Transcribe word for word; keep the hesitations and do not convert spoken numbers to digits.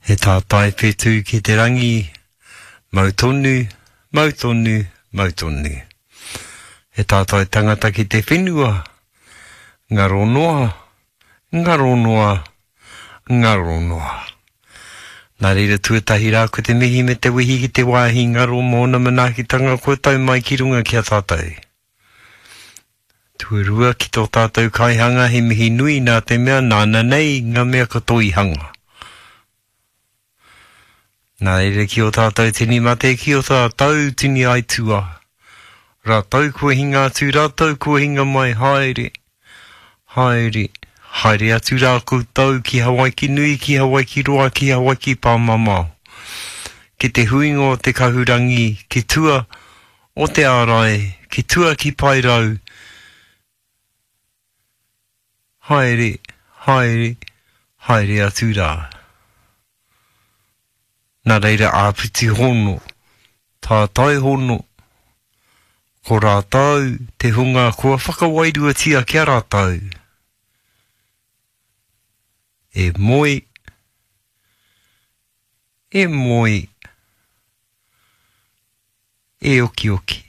He tātai whetū ki te rangi, mau tonu, mau tonu, mau tonu. He tātai tangata ki te whenua, ngaro noa, ngaro noa, ngaro noa. Nā reira tuatahi rā ko te mihi me te wehi ki te wāhi ngaro mōna manaakitanga kua tau mai ki runga ki a tātou. Tuarua ki tō tātou kaihanga he mihi nui nā te mea nāna nei ngā mea katoa i hanga. Nā reira ki o tātou tini mate, ki o tātou tini aitua. Rātou kua hinga atu, rātou kua hinga mai, haere, haere, haere atu rā koutou ki Hawaiki nui, ki Hawaiki roa, ki Hawaiki pāmamao. Ki te huinga o te kahurangi, ki tua o te ārai, ki tua ki Paerau. Haere, haere, haere atu rā. Nā reira āpiti hono, tātai hono, ko rātou te hunga kua whakawairuatia ki a rātou. E moe, e moe, e okioki.